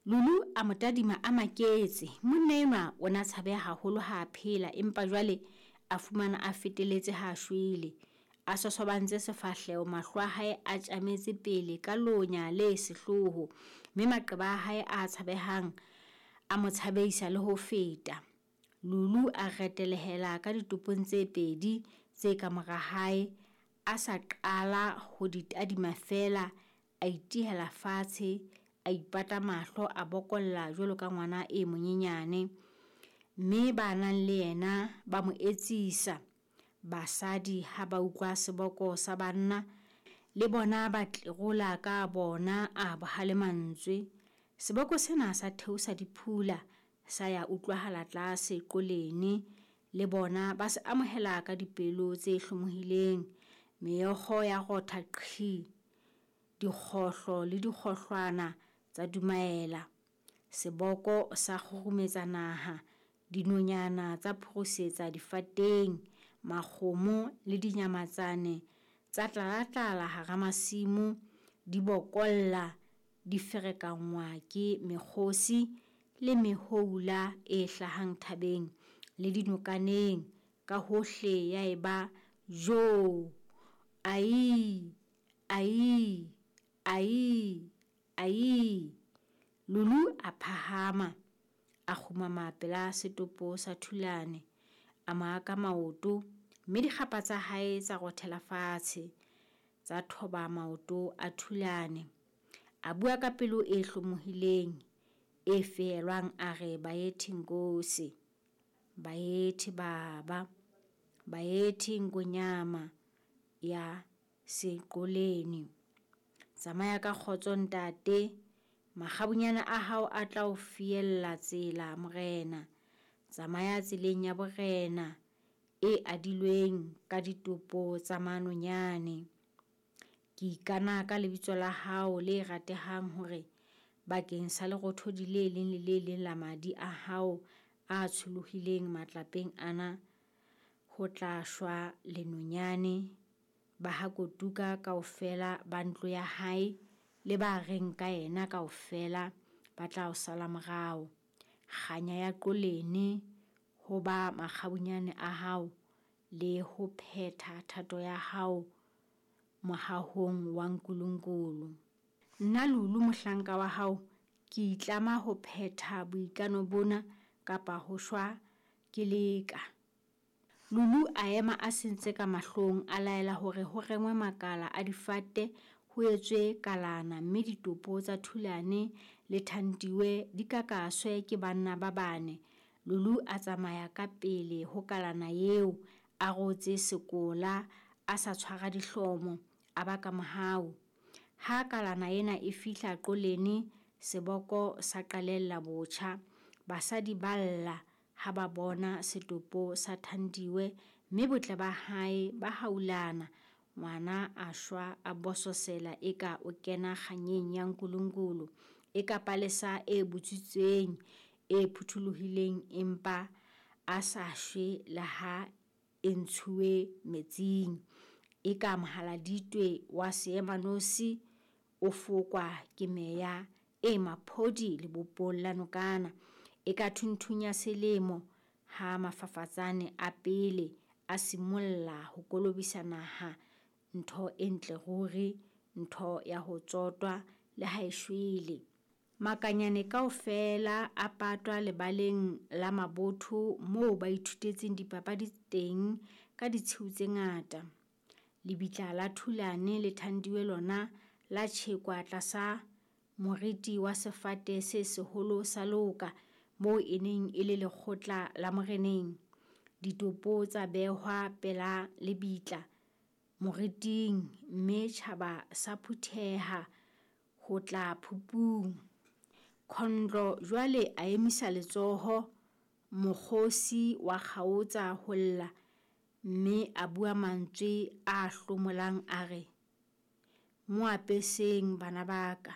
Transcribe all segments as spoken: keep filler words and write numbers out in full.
Lulu a mo tadima a maketse. Monna enwa o na tshabeha haholo ha a phela, empa jwale a fumana a feteletse ha a shwele. A sosobantse sefahleho, mahlo a hae a tjametse pele ka lonya le sehloho, mme maqeba a hae a tshabehang a mo tshabeisa le ho feta. Lulu a retelehela ka ditopong tse pedi tse ka mora hae. A sa qala ho di tadima feela, a itihela fatshe, a ipata mahlo, a bokolla jwalo ka ngwana e monyenyane. Mme ba nang le yena ba mo etsisa. Basadi ha ba utlwa seboko sa banna, le bona ba tlerola ka bona a bohale mantswe. Seboko sena sa theosa le phula, sa ya utlwahala tlase Qolene. Le bona ba se amohela ka dipelo tse hlomohileng. Meokgo ya rotha qhi! Dikgohlo le dikgohlwana tsa dumaela. Seboko sa kgurumetsa naha, dinonyana tsa phurusetsa difateng, makgomo le dinyamatsane tsa tlalatlala hara masimo, di bokolla, di ferekanngwa ke mekgosi le mehoula e hlahang thabeng le dinokaneng. Ka hohle ya eba jo! Aii! Aii! Aii! Aii! Lulu a phahama, a kgumama pela setopo sa Thulane. A mo aka maoto, mme dikgapha tsa hae tsa rothela fatshe, tsa thoba maoto a Thulane. A bua ka pelo e hlomohileng, e fehelwang a re, Bayethe Nkosi, Bayethe baba, Bayethe Ngonyama ya Seqoleni. Tsamaya ka kgotso ntate, makgabunyane a hao a tla o fiella tsela morena. Tsamaya tseleng ya borena e adilweng ka ditopo tsa manonyane. Ke ikana ka lebitso la hao le ratehang hore bakeng sa lerothodi le leng le le leng la madi a hao a tsholohileng matlapeng ana, ho tla shwa lenonyane. Ba ha Kotuka kaofela ba ntlo ya hae le ba reng ka yena kaofela ba tla o sala morao. Kganya ya Qolene ho ba makgabunyane a hao le ho phetha thato ya hao mohahong wa Nkulunkulu. Nna Lulu mohlanka wa hao ke itlama ho phetha boikano bona kapa ho shwa ke leka. Lulu a ema a sentse ka mahlong, a laela hore ho rengwe makala a difate ho etswe kalana mme ditopo tsa Thulane le Thandiwe di kakaswe ke banna ba bane. Lulu a tsamaya ka pele ho kalana eo, a rotse sekola, a sa tshwara dihlomo, a baka mohau. Ha kalana ena e fihla Qolene, seboko sa qalella botjha. Basadi ba lla ha ba bona setopo sa Thandiwe mme botle ba hae ba haulana. Ngwana a shwa a bososela eka o kena kganyeng ya Nkulunkulu, eka palesa e butswitseng, e phutholohileng empa a sa shwe le ha e ntshuwe metsing, eka mohaladitwe wa seemanosi o fokwa ke meya e maphodi lebopong la nokana, eka thunthung ya selemo ha mafafatsane a pele a simolla ho kolobisa naha, ntho e ntle ruri, ntho ya ho tsotwa le ha e shwele. Makanyane kaofela a patwa lebaleng la mabotho moo ba ithutetseng dipapadi teng ka ditshiu tse ngata. Lebitla la Thulane le Thandiwe lona la tjhekwa tlasa moriti wa sefate se seholo sa leoka moo e neng e le lekgotla la moreneng. Ditopo tsa behwa pela lebitla moriting mme tjhaba sa phutheha ho tla phupung. Khondlo jwale a emisa letsoho, mokgosi wa kgaotsa ho lla mme a bua mantswe a hlomolang a re, Mo apeseng bana ba ka.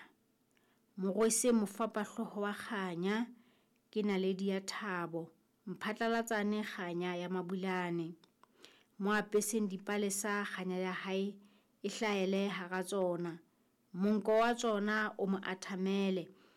Mo rweseng mofapahlooho wa kganya, ke naledi ya thabo, mphatlalatsane kganya ya Mabulane. Mo apeseng dipalesa kganya ya hae e hlahele hara tsona. Monko wa tsona o mo athamele,